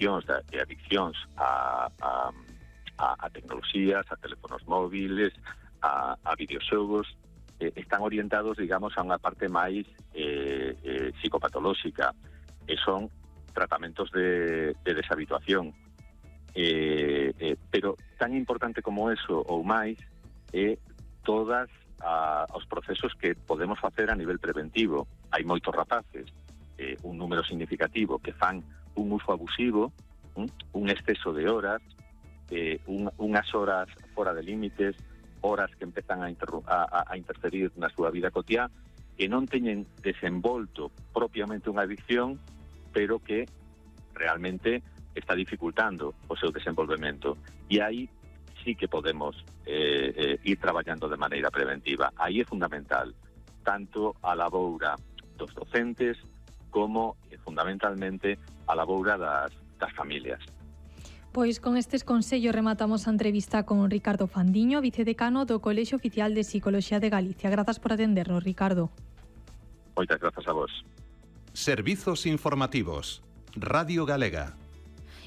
cuestións de adiccións a tecnoloxías, a teléfonos móviles, a videoxogos, están orientados, digamos, a unha parte máis psicopatolóxica, e son tratamentos de deshabituación. Pero tan importante como eso ou máis é todas os procesos que podemos facer a nivel preventivo. Hai moitos rapaces, un número significativo, que fan un uso abusivo, un exceso de horas, unhas horas fora de límites, horas que empezan a interferir na súa vida cotiá, que non teñen desenvolto propiamente unha adicción, pero que realmente está dificultando o seu desenvolvemento. E aí sí que podemos ir traballando de maneira preventiva. Aí é fundamental, tanto a laboura dos docentes como, fundamentalmente, a laboura das familias. Pois con estes consellos rematamos a entrevista con Ricardo Fandiño, vicedecano do Colexio Oficial de Psicoloxía de Galicia. Grazas por atendernos, Ricardo. Moitas grazas a vos. Servizos informativos. Radio Galega.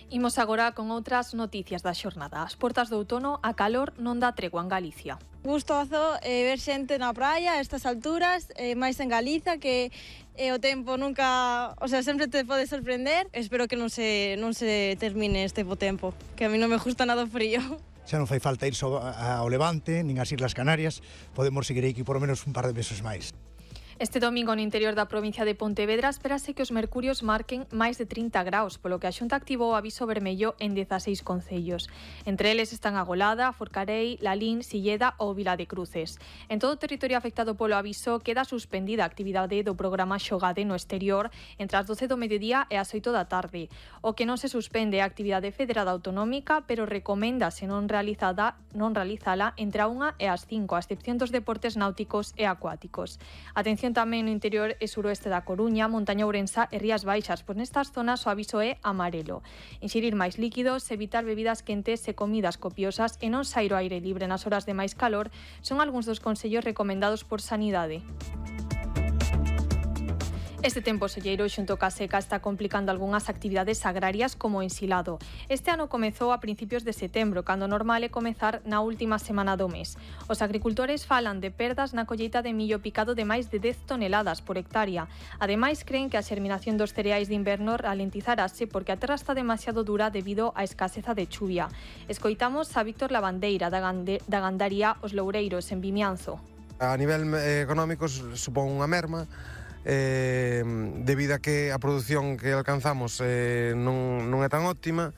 Imos agora con outras noticias da xornada. As portas do outono, a calor non dá tregua en Galicia. Gustoso ver xente na praia a estas alturas, máis en Galiza, que o tempo nunca, sempre te pode sorprender. Espero que non se termine este bo tempo, que a mí non me gusta nada o frío. Xa non fai falta ir ao Levante, nin ás Islas Canarias, podemos seguir aquí por lo menos un par de meses máis. Este domingo no interior da provincia de Pontevedra espérase que os mercurios marquen máis de 30 graus, polo que a Xunta activou o aviso vermello en 16 concellos. Entre eles están a Golada, Forcarei, Lalín, Silleda ou Vila de Cruces. En todo o territorio afectado polo aviso queda suspendida a actividade do programa Xogade no exterior entre as 12 do mediodía e as 8 da tarde. O que non se suspende é a actividade federada autonómica, pero recoméndase non realizala entre a 1 e as 5, a excepción dos deportes náuticos e acuáticos. Atención tamén no interior e suroeste da Coruña, Montaña Ourensa e Rías Baixas, pois nestas zonas o aviso é amarelo. Inxirir máis líquidos, evitar bebidas quentes e comidas copiosas e non sair ao aire libre nas horas de máis calor son algúns dos consellos recomendados por Sanidade. Este tempo solleiro xunto ca seca está complicando algunhas actividades agrarias como o ensilado. Este ano comezou a principios de setembro, cando normal é comezar na última semana do mes. Os agricultores falan de perdas na colleita de millo picado de máis de 10 toneladas por hectárea. Ademais, creen que a xerminación dos cereais de inverno ralentizarase porque a terra está demasiado dura debido á escaseza de chuvia. Escoitamos a Víctor Lavandeira, da gandaría Os Loureiros, en Vimianzo. A nivel económico supón unha merma, debido a que a produción que alcanzamos non é tan óptima.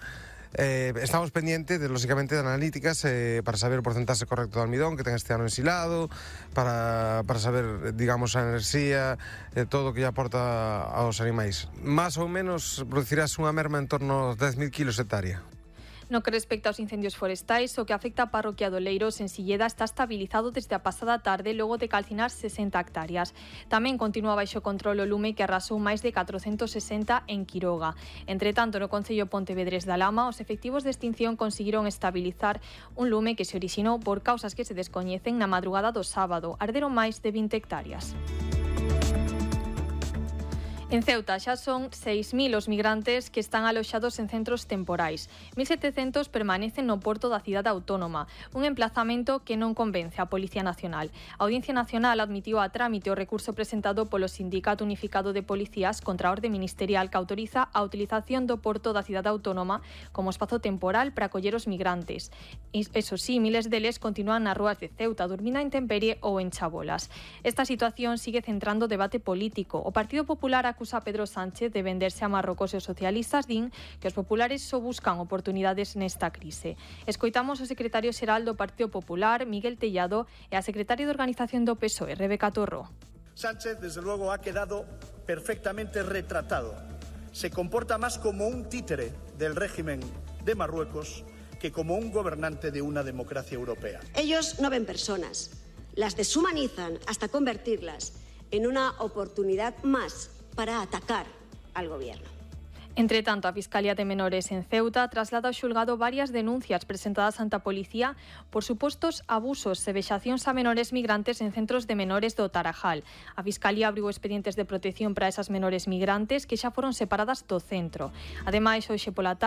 Estamos pendientes, lógicamente, de analíticas para saber o porcentaxe correcto de almidón que ten este ano ensilado, para saber, digamos, a enerxía, todo o que lle aporta aos animais. Más ou menos producirás unha merma en torno aos 10.000 kilos hectárea. No que respecta aos incendios forestais, o que afecta a parroquia de Oleiros en Silleda está estabilizado desde a pasada tarde logo de calcinar 60 hectáreas. Tamén continúa baixo control o lume que arrasou máis de 460 en Quiroga. Entre tanto, no concello Pontevedrés da Lama, os efectivos de extinción conseguiron estabilizar un lume que se orixinou por causas que se descoñecen na madrugada do sábado. Arderon máis de 20 hectáreas. En Ceuta xa son 6.000 os migrantes que están aloxados en centros temporais. 1.700 permanecen no porto da cidade autónoma, un emplazamento que non convence a Policía Nacional. A Audiencia Nacional admitiu a trámite o recurso presentado polo Sindicato Unificado de Policías contra a orde ministerial que autoriza a utilización do porto da cidade autónoma como espazo temporal para acoller os migrantes. Eso sí, miles deles continúan nas rúas de Ceuta, dormindo a intemperie ou en chabolas. Esta situación sigue centrando o debate político. O Partido Popular acusa a Pedro Sánchez de venderse a Marrocos e os socialistas din que os populares só buscan oportunidades nesta crise. Escoitamos o secretario xeral do Partido Popular, Miguel Tellado, e a secretaria de Organización do PSOE, Rebeca Torro. Sánchez, desde luego, ha quedado perfectamente retratado. Se comporta más como un títere del régimen de Marruecos que como un gobernante de una democracia europea. Ellos no ven personas, las deshumanizan hasta convertirlas en una oportunidad más para atacar al gobierno. Entre tanto, a Fiscalía de Menores en Ceuta traslada ao xulgado varias denuncias presentadas ante a policía por supostos abusos e vexacións a menores migrantes en centros de menores do Tarajal. A Fiscalía abriu expedientes de protección para esas menores migrantes que xa foron separadas do centro. Ademais, hoxe pola tarde,